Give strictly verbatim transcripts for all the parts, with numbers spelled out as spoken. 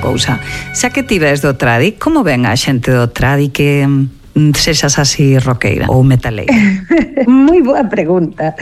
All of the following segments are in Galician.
cousa. Xa que ti ves do tradi, como ven a xente do tradi que sexas así roqueira ou metaleira? Moi boa pregunta.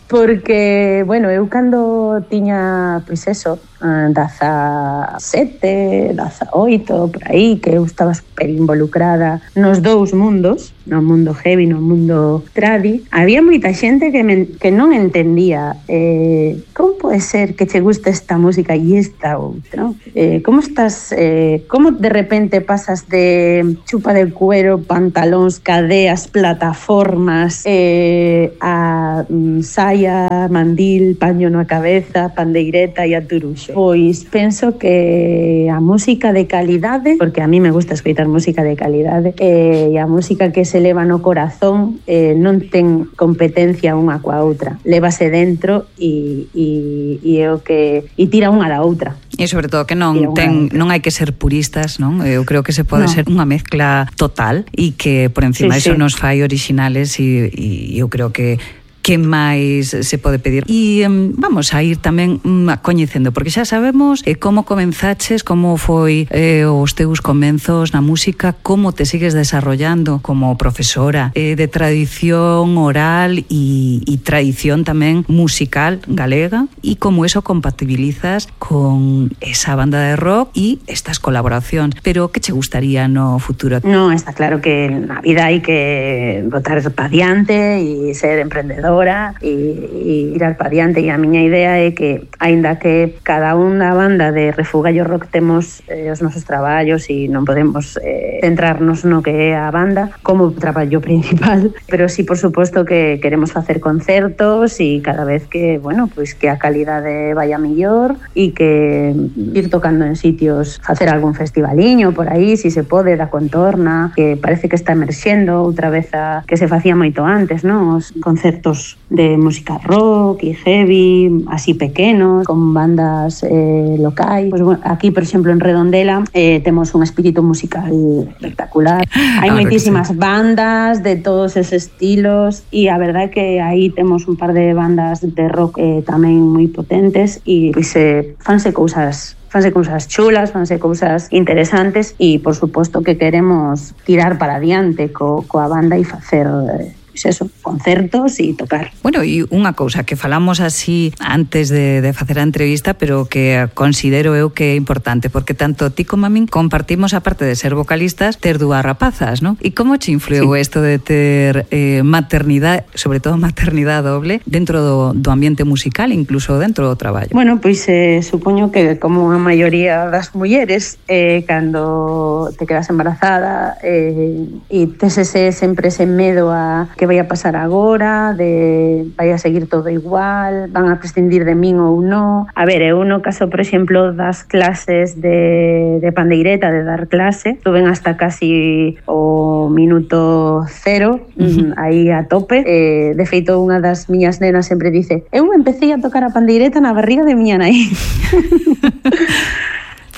Porque, bueno, eu cando tiña, pois eso, dezasete, dezaoito, por aí, que eu estaba super involucrada nos dous mundos, no mundo heavy, no mundo tradi, había moita xente que, me, que non entendía eh, como pode ser que che guste esta música e esta outra, eh, como estás, eh, como de repente pasas de chupa de cuero, pantalóns, cadeas, plataformas, eh, a mm, saia, mandil, paño na cabeza, pandeireta e a turuxo. Pois penso que a música de calidade, porque a mí me gusta escoitar música de calidade, eh, e a música que se leva no corazón eh, non ten competencia unha coa outra. Lévase dentro e, e, e é o que e tira unha da outra. E sobre todo que non ten non hai que ser puristas, non? Eu creo que se pode no. ser unha mezcla total e que por encima sí, eso sí. nos fai originales e, e eu creo que que máis se pode pedir. E um, vamos a ir tamén um, coñecendo, porque xa sabemos eh, como comenzaches, como foi eh, os teus comenzos na música, como te sigues desarrollando como profesora eh, de tradición oral e, e tradición tamén musical galega, e como eso compatibilizas con esa banda de rock e estas colaboracións. Pero que che gustaría no futuro? No, está claro que na vida hai que botar pa diante e ser emprendedor e ir al pa diante, e a miña idea é que, aínda que cada unha banda de Refugallo Rock temos eh, os nosos traballos e non podemos eh, centrarnos no que é a banda como traballo principal, pero sí, por suposto, que queremos facer concertos e cada vez que, bueno, pois que a calidade vaya mellor e que ir tocando en sitios, facer algún festivaliño por aí, si se pode, da contorna, que parece que está emerxendo outra vez a que se facía moito antes, non? Os concertos de música rock e heavy, así pequenos, con bandas eh, locais. Pues, bueno, aquí, por exemplo, en Redondela eh, temos un espírito musical espectacular. Hai moitísimas sí. bandas de todos esos estilos e a verdade é que aí temos un par de bandas de rock eh, tamén moi potentes e pois, eh, fanse cousas fanse cousas chulas, fanse cousas interesantes e, por suposto, que queremos tirar para adiante co, coa banda e facer eh, eso, concertos e tocar. Bueno, e unha cousa que falamos así antes de, de facer a entrevista, pero que considero eu que é importante, porque tanto ti como a min compartimos, aparte de ser vocalistas, ter dúas rapazas, non? E como che influiu sí. isto de ter eh, maternidade, sobre todo maternidade doble, dentro do, do ambiente musical, incluso dentro do traballo? Bueno, pois eh, supoño que como a maioría das mulleres, eh, cando te quedas embarazada eh, e tes ese, sempre ese medo a que vai a pasar agora, de vai a seguir todo igual, van a prescindir de min ou non. A ver, eu no caso, por exemplo, das clases de, de pandeireta, de dar clase, estuven hasta casi o minuto cero, uh-huh. aí a tope. Eh, de feito, unha das miñas nenas sempre dice: eu empecé a tocar a pandeireta na barriga de miña nai.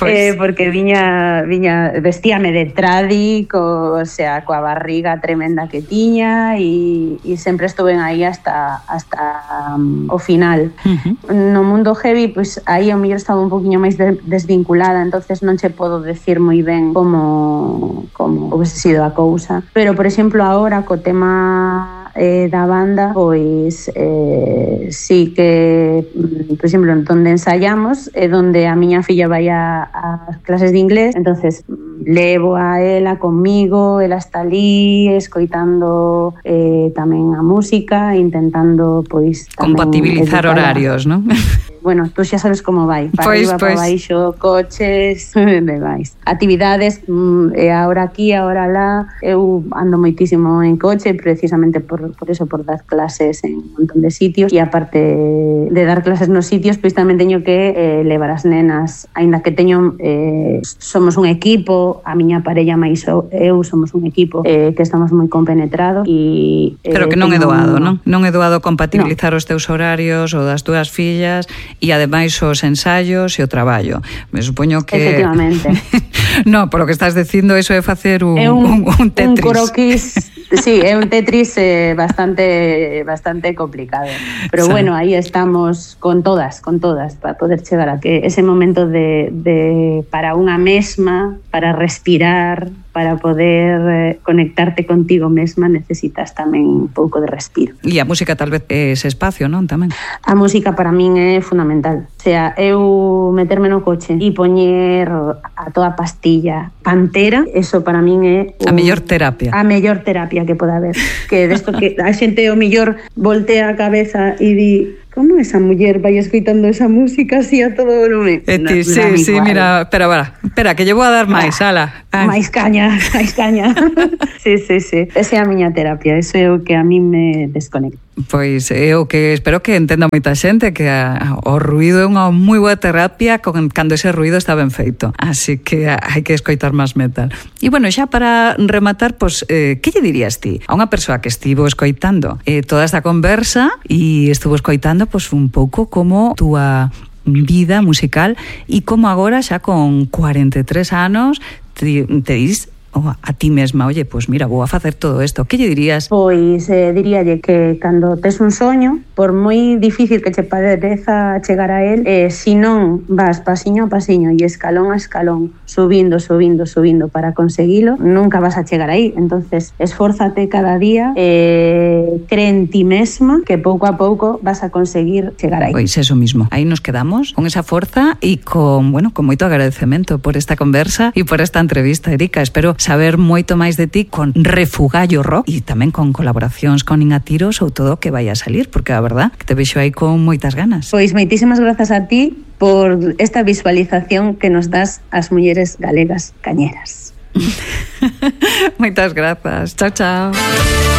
Pues... Eh, porque viña, viña vestíame de tradi, co, o sea, coa barriga tremenda que tiña e, e sempre estuve aí hasta, hasta um, o final. Uh-huh. No mundo heavy, pues, aí ao mellor estaba un poquinho máis de, desvinculada, entonces non che podo decir moi ben como, como houvese sido a cousa. Pero, por exemplo, agora co tema eh, da banda, pois eh, sí que, por exemplo, donde ensayamos é donde a miña filla vai a, a clases de inglés, entonces levo a ela comigo, ela está ali escoitando eh, tamén a música, intentando pois tamén compatibilizar educar horarios, non? Bueno, tú xa sabes como vai, para pois, arriba, pois. para baixo, coches, demais. Actividades, e agora aquí, agora lá, eu ando moitísimo en coche, precisamente por, por eso, por dar clases en un montón de sitios, e aparte de dar clases nos sitios, pois tamén teño que eh, levar as nenas, aínda que teño, eh, somos un equipo, a miña parella máis eu somos un equipo eh, que estamos moi compenetrados e... Eh, Pero que non é doado, non? Non é doado compatibilizar no. os teus horarios ou das túas fillas e ademais os ensaios e o traballo. Me supoño que... Efectivamente. No, por lo que estás dicindo, eso é facer un, é un, un, un Tetris. Un croquis Sí, é un Tetris eh, bastante bastante complicado. Pero sí. Bueno, aí estamos con todas, con todas, para poder chegar a que ese momento de, de para unha mesma, para respirar, para poder eh, conectarte contigo mesma, necesitas tamén un pouco de respiro. E a música tal vez é ese espacio, non? Tamén. A música para min é fundamental. O sea, eu meterme no coche e poñer a toda pastilla Pantera, eso para min é un, a mellor terapia. A mellor terapia que poda haber. Que desto que a xente o mellor voltea a cabeza e di como esa muller vai escoitando esa música así a todo volumen. E ti, no, sí, sí, igual. Mira, espera, espera, espera, que lle vou a dar máis, ala. Máis caña, máis caña. Sí, sí, sí. Esa é a miña terapia, eso é o que a mí me desconecta. Pois é o que espero que entenda moita xente, que a, o ruido é unha moi boa terapia con, cando ese ruido está ben feito. Así que hai que escoitar máis metal. E bueno, xa para rematar, pois, eh, que lle dirías ti a unha persoa que estivo escoitando eh, toda esta conversa e estuvo escoitando pois un pouco como túa vida musical e como agora xa con cuarenta e tres anos te, te dis oh, a ti mesma, oye, pois mira, vou a facer todo isto. Que lle dirías? Pois eh, diríalle que cando tes un soño, por moi difícil que che pareza chegar a él, eh, si non vas pasiño a pasiño e escalón a escalón, subindo, subindo, subindo para conseguilo, nunca vas a chegar aí. Entonces, esfórzate cada día, eh, cree en ti mesma, que pouco a pouco vas a conseguir chegar aí. Pois eso mismo. Aí nos quedamos con esa forza e con, bueno, con moito agradecemento por esta conversa e por esta entrevista, Erika. Espero saber moito máis de ti con Refugallo Rock e tamén con colaboracións con Inatiros ou todo o que vai a salir, porque a verdad que te vexo aí con moitas ganas. Pois moitísimas grazas a ti por esta visualización que nos das ás mulleres galegas cañeras. Moitas grazas. Chao, chao.